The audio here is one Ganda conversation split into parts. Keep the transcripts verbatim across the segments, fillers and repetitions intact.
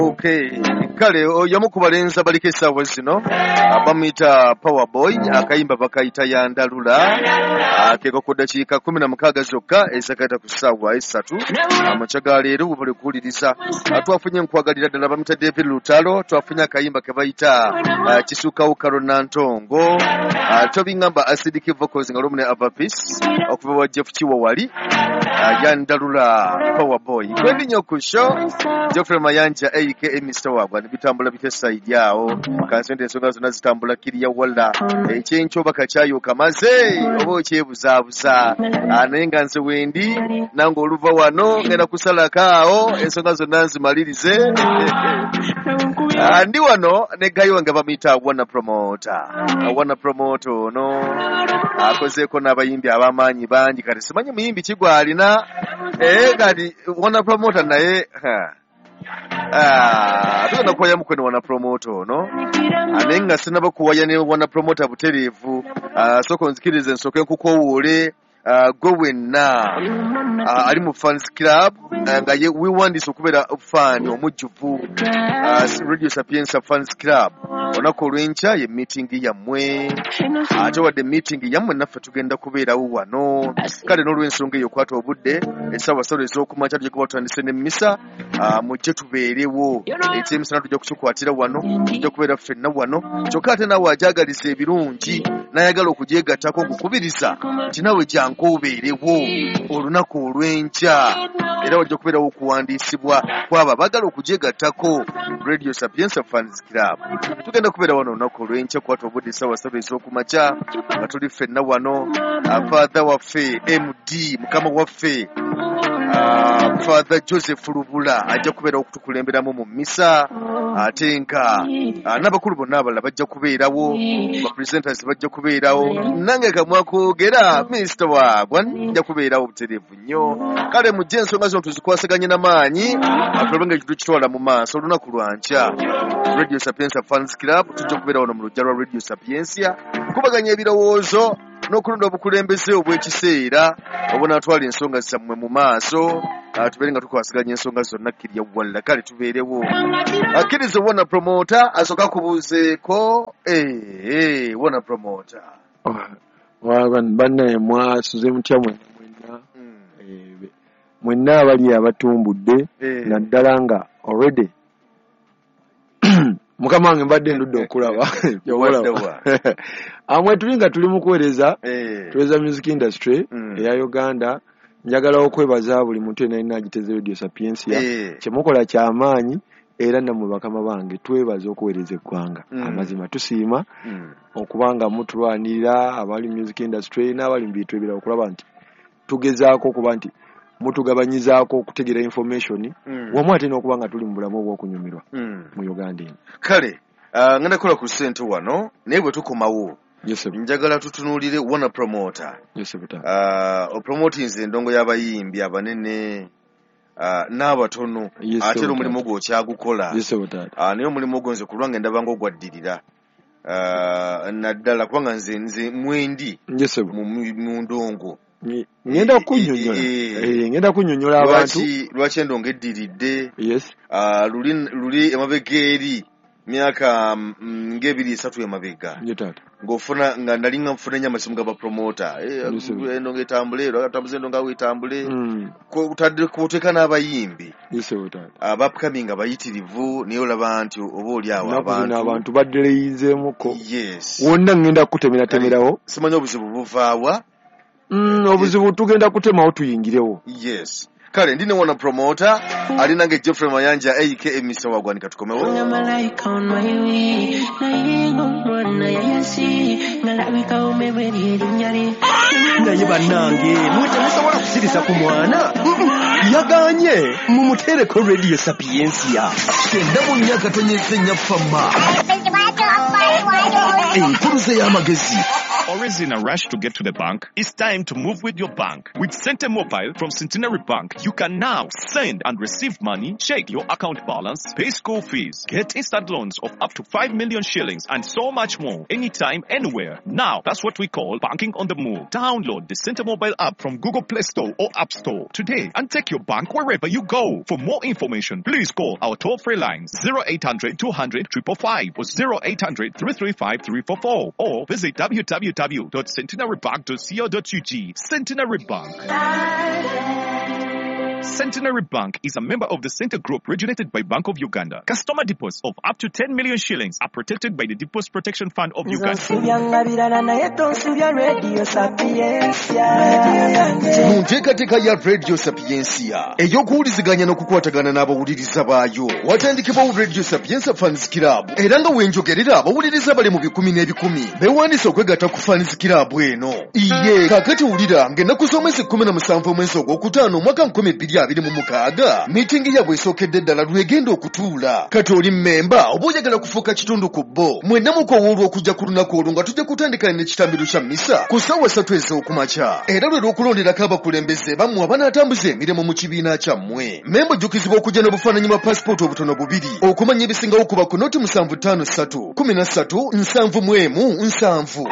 Okay, kale oyo ku balenzi abaliko essaawa zino bamuyita Power Boy, akayimba bakayita Yandalula, akeeko ku ddakiika kumi na mukaaga zokka ezakaita ku ssaawa essatu amakya ga leero. Bwe kuwuliriza twafunye nkwagalira ddala, bamuyita David Lutalo. Twafunye akayimba ke bayita Kisukawo Kalonantongo, tobingamba Acidic Vocals nga lumu ne Ava Peace okuva wa Jeff Kiwa wali Yandalula Power Boy. Kwendi nnyo ku show, Geoffrey Mayanja aka Mister Wagwan. Bitambula bitya side awo? Kansente ensonga zonna zitambula kiriya walla? Ekyenkyo oba kakyayo kamaze oba okyebuzaabuza? Naye nga nze wendi nange oluva wano ngenda kusalako awo ensonga zonna nzimalirize. Ndi wano ne guy wange bamuyita Wana Promoter. Wana Promoter ono akozeeko n'abayimbi ab'amaanyi bangi, kati simanyi muyimbi ki gw'alina kati Wana Promoter naye tugenda kuwaya mukweno Wana Promoter ono, naye nga sinaba kuwaya ne Wana Promoter butereevu, sooka onzikirize nsooke nkukowoole gwe wenna ali mu fans club nga ye weewandiise okubeera fan omujjuvu Radio Sapientia Fans Club. Olunaku olw'enkya ye meeting yammwe, ate wadde meeting yammwe naffe tugenda kubeerawo wano. Kale n'olw'ensonga eyo okwata obudde essaawa ssatu ez'okumakya tujja kuba tutandise n'emmisa, mujje tubeerewo. Ekyemisana tujja kukikwatira wano, tujja kubeera ffenna wano. Kyokka ate naawe agyagaliza ebirungi n'ayagala okugyegattako, nkukubiriza nti naawe jangu obeerewo olunaku olw'enkya, era wajja kubeerawo okuwandiisibwa kwabo abaagala okugyegattako Radio Sapientia Fans Club. Tugenda kubeera wano olunaku olw'enkya, kwata obudde essaawa ssatu ez'okumakya nga tuli ffenna wano. Father waffe M D mukama waffe Father Joseph Lubula ajja kubeerawo okutukulemberamu mu mmisa, ate nga n'abakulu bonna abalala bajja kubeerawo, bapresenters bajja kubeerawo, nange kamwakwogera Minisita Wagwa nja kubeerawo butereevu nnyo. Kale mujje ensonga zino tuzikwasaganye n'amaanyi, tulabe nga ekintu kitwala mu maaso. Olunaku lwankya Radio Sapientia Fans Club tujja kubeera wano mu luggya lwa Radio Sapientia kubaganya ebirowoozo n'okulonda obukulembeze obw'ekiseera obunaatwala ensonga zammwe mu maaso, tubeere nga tukwasaganya ensonga zonna kkirya walla. Kale tubeerewo. Akkiriza Wana Promoter asooka kubuuzeeko. Wana Promoter. Bannaye, mwasuze mutya mwenna mwenna mwenna abali abatumbudde, naddala nga already mukama wange mbadde ndudde okulaba amwe tuli nga tuli mu kuweereza, tuweereza music industry eya Uganda. Njagala okwebaza buli muntu yenna yenna agiteze Radio Sapientia. Kyemukola kyamaanyi, era nammwe bakama bange twebaza okuweereza eggwanga. Amazima tusiima okubanga mutulwanirira abali music industry n'abali mu bintu ebirala, okulaba nti tugezaako okuba nti mutugabanyizaako okutegeera information wamu ate n'okuba nga tuli mu bulamu obw'okunyumirwa mu Uganda eno. Kale ngenda kukola ku ssente wano, naye bwe tukomawo njagala tutunuulire Wana Promoter. Opromotinze endongo y'abayimbi abanene n'abatono, ate era omulimu gwo okyagukola, naye omulimu ogwo nze ku lwange ndaba nga ogwaddirira, naddala kubanga nze nze mwendi mu ndongo. Ngenda kunnyonnyola, ngenda kunnyonnyola abantu lwaki endongo eddiridde. Luli luli emabega eri myaka ng'ebiri esatu emabega ng'ofuna nga nali nga nfuna nnyo amasimu g'abapromota, endongo etambule, tambuza endongo awo etambule, kuteeka n'abayimbi abapcoming abayitirivu, naye olaba nti oba oli awo abantu abantu badereyizeemuko wonna. Ngenda kutemeratemerawo. Simanyi obuzibu buvaawa. Obuzibu tugenda kutemawo tuyingirewo. Yes, kale ndi ne Wana Promoter ali nange Geoffrey Mayanja aka Mister Wagwanika. Tukomewo. Malayika onwayiwi naye ng'omwana yayasi ngalabika omeberi erinnya lye. Naye bannange, mwe temusobola kusirisa ku mwana yaganye, mumuteereko Radio Sapientia. Kyenda mu nnya katonyeze nnya fama enkuluze y'amagezi. Always in a rush to get to the bank? It's time to move with your bank. With Sente Mobile from Centenary Bank, you can now send and receive money, check your account balance, pay school fees, get instant loans of up to five million shillings, and so much more, anytime, anywhere. Now, that's what we call banking on the move. Download the Sente Mobile app from Google Play Store or App Store today and take your bank wherever you go. For more information, please call our toll-free lines zero eight hundred two hundred five five five or zero eight hundred three three five three four four or visit w w w dot centenary bank dot co dot u g. Centenary Bank. Centenary Bank is a member of the Center Group regulated by Bank of Uganda. Customer deposits of up to ten million shillings are protected by the Deposit Protection Fund of Uganda. Mu nteekateeka ya Radio Sapientia ey'okuwuliziganya n'okukwatagana n'abawuliriza baayo, watandikibwawo Radio Sapientia Fans Club, era nga wenjogerera abawuliriza bali mu bikumi n'ebikumi beewandiise okwegatta ku Fans Club eno. Iye kaakati wulira ng'ennaku z'omwezi kkumi na musanvu omwezi ogwokutaano omwaka nkumi bbiri abiri mu mukaaga miitingi yaabwe esookedde ddala lwegenda okutuula. Kati oli mmemba oba oyagala kufuuka kitundu ku bo, mwenna mukowoolwa okujja ku lunaku olwo nga tujja kutandika n'ekitambiro kya mmisa ku ssaawa ssatu ez'okumakya, era lwe lw'okulonderako abakulembeze bammwe abanaatambuza emirimu mu kibiina kyammwe. Mmemba ojjukizibwa okujja n'obufaananyi bwa paasipooti obutono bubiri okumanya ebisingawo kuba ku noti musanvu ttaano ssatu kumi na ssatu nsanvu mu emu nsanvu.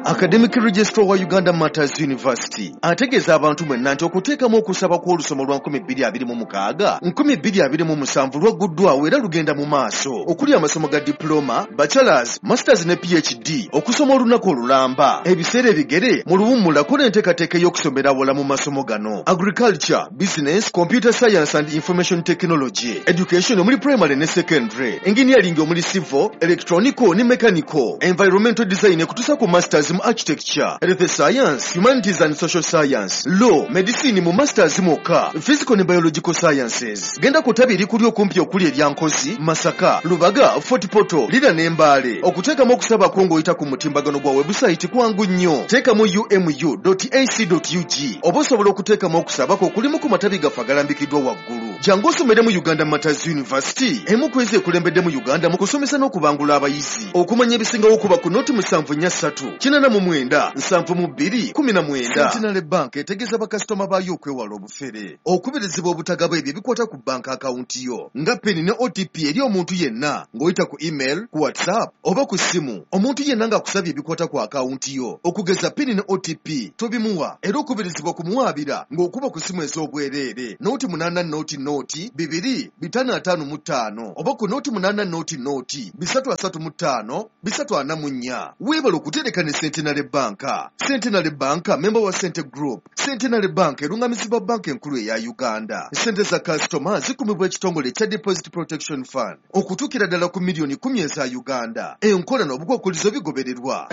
Academic Registrar wa Uganda Matters University ategeeza abantu mwenna nti okuteekamu okusaba kw'olusomo lwa nkumi bbiri abiri mu mukaaga nkumi bbiri abiri mu musanvu lwagguddwawo era lugenda mu maaso, okuli amasomo ga diploma, bachelors, masters ne PhD, okusoma olunaku olulamba, ebiseera ebigere mu luwummula kola enteekateeka ey'okusomera awala mu masomo gano: agriculture, business, computer science and information technology, education omuli primary ne secondary, engineering omuli civil, electronical ne mechanical, environmental design ekutuusa ku masters mu architecture, health science, humanities and social science, law, medicine mu masters mwokka, physical ne biological sciences. Genda ku ttabi erikuli okumpi okuli erya Nkozi, Masaka, Lubaga, Fort Portal, Lira ne Mbale. Okuteekamu okusaba kwo ng'oyita ku mutimbagano gwa webusayiti kwangu nnyo. Teekamu u m u dot a c dot u g oba osobola okuteekamu okusaba kwo okulimu ku matabi gaffe agalambikiddwa waggulu. Jangu osomere mu Uganda Matters University, emu ku ezo ekulembedde mu Uganda mu kusomesa n'okubangula abayizi. Okumanya ebisingawo kuba ku noti musanvu nnya ssatu kinaana mu mwenda nsanvu mu bbiri kumi na mwenda. Centenary Bank etegeeza bakasitoma baayo okwewala obufere, okubirizibwa obutagaba ebyo ebikwata ku banka akawunti yo nga PIN ne O T P eri omuntu yenna ng'oyita ku email, ku WhatsApp oba ku ssimu. Omuntu yenna ng'akusabye ebikwata ku akawunti yo okugeza PIN ne O T P tobimuwa, era okubirizibwa kumuwaabira ng'okuba ku ssimu ez'obwereere nooti munaana nooti nooti bibiri bitaano ataano mu ttaano oba ku nooti munaana nooti nooti bisatu asatu mu ttaano bisatu ana mu nnya. Weebale okutereka ne Centenary Bank. Centenary Bank member wa Sente Group. Centenary Bank erungamizibwa banka enkulu eya Uganda. Sente za kasitoma zikumibwa ekitongole ekya Deposit Protection Fund okutuukira ddala ku miliyoni kkumi eza Uganda. Enkola n'obukwakkulizo bigobererwa.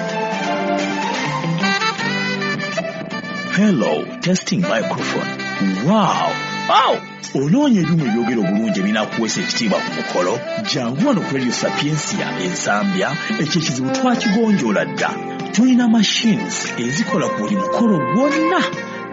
Hello, testing microphone. Wow! Wow! Onoonya ebyuma ebyogera obulungi ebinaakuweesa ekitiibwa ku mukolo? Jangu wano ku Radio Sapientia Ensambya, ekyo ekizibu twakigonjoola dda. Tulina machines ezikola ku buli mukolo gwonna: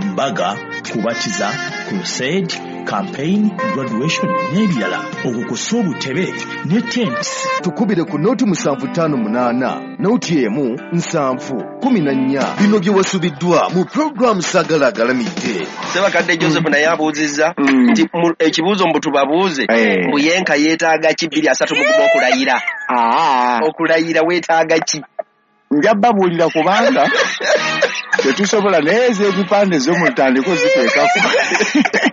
mbaga, kubatiza, crusade, campaign, graduation n'ebirala. Okwo kw'ossa obutebe ne tents. Tukubire ku nooti musanvu ttaano munaana nooti emu nsanvu kumi na nnya. Bino bye wasubiddwa mu pulogulaamu Saagala Agalamidde. Ssebakadde Joseph naye abuuzizza nti ekibuuzo mbu tubabuuze mbu yenka yeetaaga ki bbiri asatu mu gumu okulayira. Okulayira weetaaga ki? Nja babuulira kubanga tetusobola naye ez'ebipande zo mutandike oziteekako.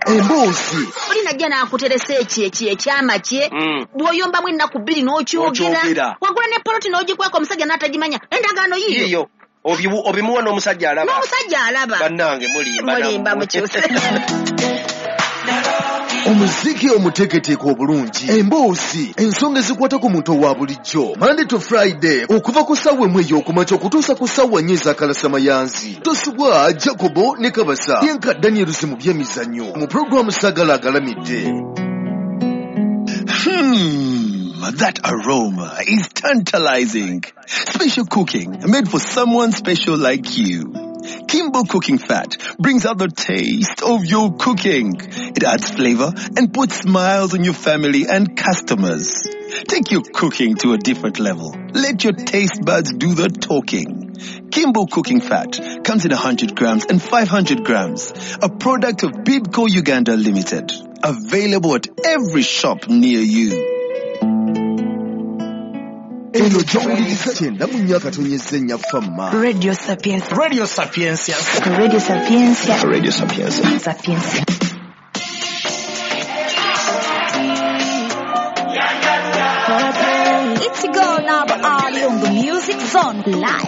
Emboozi oli najja n'akuteresa eki eki ekyama kye, bw'oyombamu ennaku bbiri n'okyogera, wagula ne poloti n'ogikweka omusajja n'atagimanya, endagaano yiyo obimuwa n'omusajja alaba, n'omusajja alaba. Bannange mulimba, mulimba mukyuse. Omuziki omuteeketeeke obulungi, emboozi, ensonga ezikwata ku muntu owa bulijjo, Monday to Friday okuva ku ssaawa emu ey'okumakya okutuusa ku ssaawa nnya ez'akalasamayanzi. Tosubwa Jacobo ne Kabasa yenka Daniel mu by'emizannyo mu pulogulaamu Saagala Agalamidde. Hmm, that aroma is tantalizing. Special cooking made for someone special like you. Kimbo Cooking Fat brings out the taste of your cooking. It adds flavor and puts smiles on your family and customers. Take your cooking to a different level. Let your taste buds do the talking. Kimbo Cooking Fat comes in one hundred grams and five hundred grams. A product of Bibco Uganda Limited. Available at every shop near you. Eno gy'owuliriza kyenda mu nnya akatonyezza ennya Fama. Radio Sapientia. Radio Sapientia. Radio Sapientia. Radio Sapientia. Sapientia. It's go now, but on the Music Zone live.